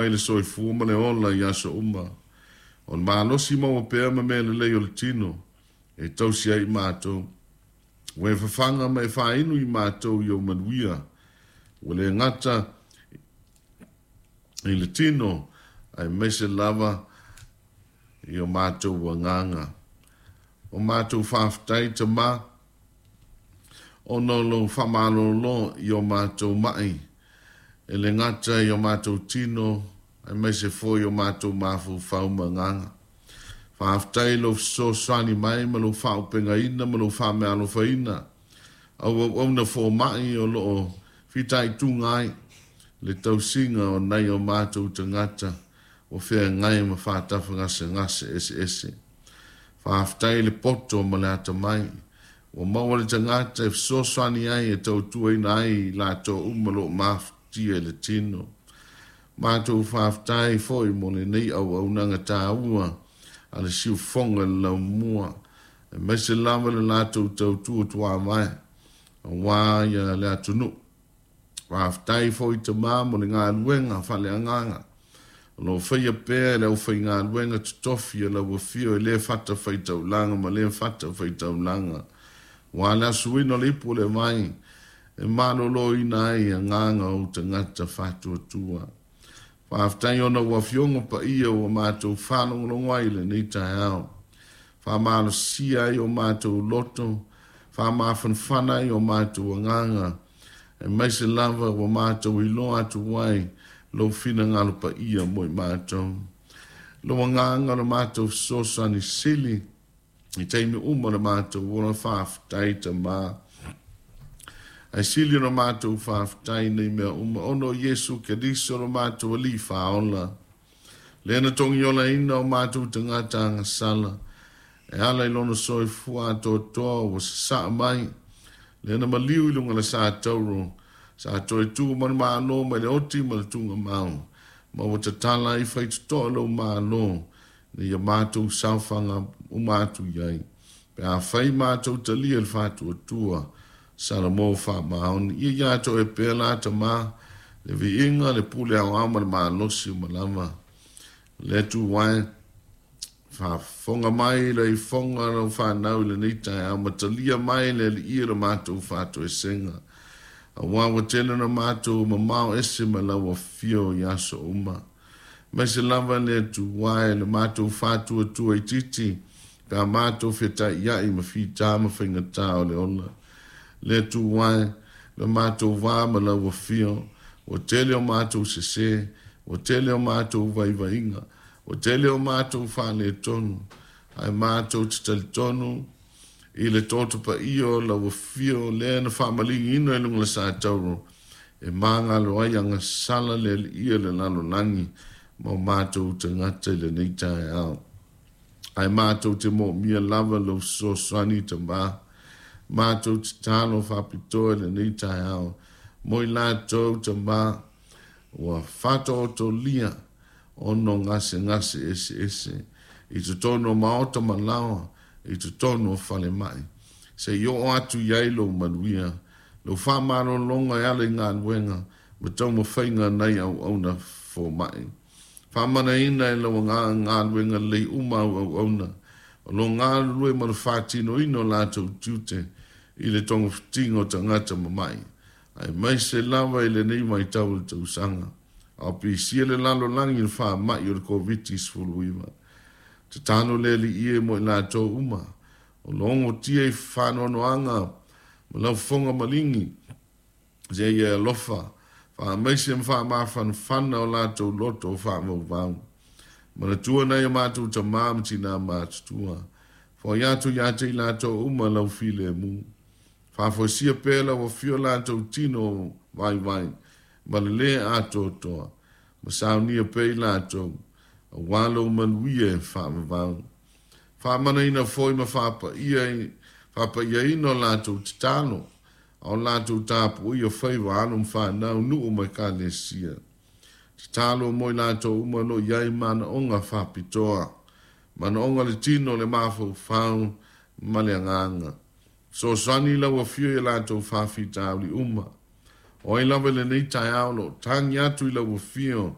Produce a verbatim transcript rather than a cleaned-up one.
Mai le soifua ma le ola i aso uma. O le malosi maua pea ma mea lelei o le tino e tausi ai i matou. Ua e fafaga ma e faainu i matou i ou manuia. Ua le gata i le tino, aemaise lava i o matou agaga. O matou faafetai Tama, ona o lou faamalolo i o matou mai, e le gata i o matou tino, aemaise foi o matou mafaufau ma agaga. Faafetai i lou fesoasoani mai ma lou faaaupegaina ma lou faameaalofaina au auauna foma'i o lo o fitaituga ai le tausiga o nai o matou tagata ua feagai ma faatafagasegase eseese. Faafetai i le poto ma le atamai ua maua le tagata e fesoasoani ai e tautuaina ai i latou uma o lo o mafatia i le tino. Matou faafetai foi mo lenei auaunaga taua a le siufofoga i le laumua, aemaise lava le latou tautua tuavae aua ia le atunuu. Faafetai foi Tama mo le galuega faaleagaga o lo o faia pea e le aufaigaluega totofi a lau afio i lea fatafaitaulaga ma lea fatafaitaulaga, aua le asuina o le ipu o le vai e maloloina ai agaga o tagata faatuatua. Faafetai ona ua afioga paia ua matou faalogologo ai i lenei taeao. Faamalosia ai o matou loto, faamafanafana ai o matou agaga, aemaise lava ua matou iloa atu ai lou finagalo paia mo i matou. Lou agaga o le matou fesoasoani sili i taimi uma o le matou ola. Faafetai Tama. Ae sili ona matou faafetai nei mea uma ona o Iesu Keriso lo matou Alii Faaola, lea na togiolaina o matou tagata agasala e ala i lona soifua atoatoa ua sasaa mai, lea na maliu i luga o le sa tauro, sa toe tu ma le Malo mai le oti ma le tugamau, ma ua tatala ai faitotoa lou Malo ina ia matou saofaga uma atu i ai, pe afai matou talia le faatuatua Salamo faamaoni. Ia ia te oe pea la Tama le viiga, le pule aoao ma le malosi uma lava. Le Atua e, faafofoga mai le ifoga o lau fanau i lenei taeao, ma talia mai le alii o le matou faatoesega, aua ua tele ona matou mamao ese ma lau afio i aso uma. Aemaise lava le Atua e le matou faatuatua itiiti pe a matou fetaiai ma fita ma faigata o le ola. Le Atua e, le matou va ma lau afio, ua tele o matou sese, ua tele o matou vaivaiga, ua tele o matou faaletonu, ae matou te talitonu i le toto paia o lau afio lea na faamaligiina i luga o le sa tauro e magalo ai agasala le alii o le lalolagi ma o matou tagata i lenei taeao. Ae matou te moomia lava lou fesoasoani Tama. Matou tatalo faapitoa i lenei taeao mo i latou Tama ua faataotolia ono gasegase eseese i totonu o maota ma laoa, i totonu o falemai, se i oo atu i ai lou manuia, lou faamalologa e ala i galuega ma taumafaiga nai auauna foma'i. Faamanaina e lau agaga galuega lelei uma au auauna o lo o galulue ma le faatinoina o latou tiute i le togafitiga o tagata mama'i, aemaise lava i lenei vaitau o le tausaga a o pisia le lalolagi i le faama'i o le Koviti sefuluiva. Tatalo le Alii e mo i latou uma o lo o ogotia i faanoanoaga ma laufofoga maligi, se ia alofa faamaise ma faamafanafana o latou loto o faavauvau. Manatua nai o matou tamā ma tinā matutua, foai atu ia te i latou uma lau filemu. Faafoisia pea lau afio latou tino vaivai ma le lē atoatoa, ma saunia pea i latou aua lou manuia e faavavau. Faamanaina foi ma faapaia faapaiaina o latou tatalo a o latou tapuaia faiva alo ma fanau, nuu ma ekalesia. Tatalo mo i latou uma o lo o i ai manaoga faapitoa, manaoga o le tino, le mafaufau ma le agaga. Fesoasoani lau afio i latou faafitauli uma. O ai lava i lenei taeao o lo o tagi atu i lau afio